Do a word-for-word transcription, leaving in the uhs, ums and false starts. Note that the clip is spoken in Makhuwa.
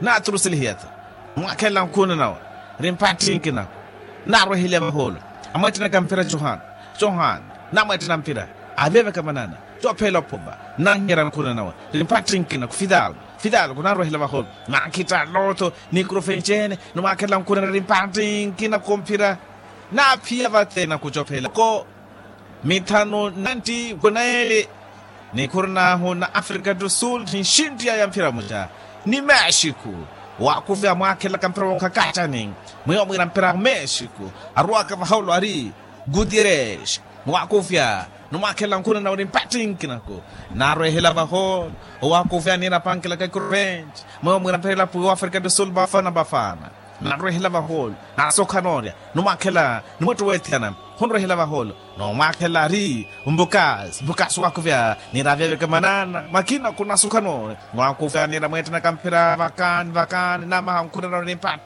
Naaturuselihiya-tho, mwaakhelela nkhuna nawe, ri mpattinki naku. Naarweheliya vahoolo, amweettenaka mpira johani, johani, namweettena mpira, aaveveka manana, coophelela ophumba, nanhiyerya nkhuna nawe, ri mpattinki naku fidal, fidal kunaarwehela vahoolo. Naakhittala otho, ni kurufenci-ene, ni mwaakhelela nkhuna nawe ri mpattinki naku mpira. Naaphiya vate naku coophelela ko. Mithanu nantti kunaeli, nikhuru nahu na afrika du sul, ninxinttiyaya mphira muca, ni mexiku. Owakufya mwaakhelaka mpira wonkhakattani, mwiyo mwiira mpira mexiku, arwaka vahaulu ari, gutierez, mwakufya, numwakhela nkhuna nawe ri mpattinki naku. Narwehela vahaulu, owakufya niira pankilaka ikuruventi, mwiyo mwiira mpira ilapu wa afrika du sul vafana vafana. Narwehela vahoolo, nasokha noorya, numwakhela, numwetto wethiyana, khunrwehela vahoolo, numwakhela ari, mbukas mbukas wakuvya, niira avyaveke manana makina khunasokha noorya, mwakuvya niira mweettenaka mphira vakani vakani namaha nkhunera nimpata.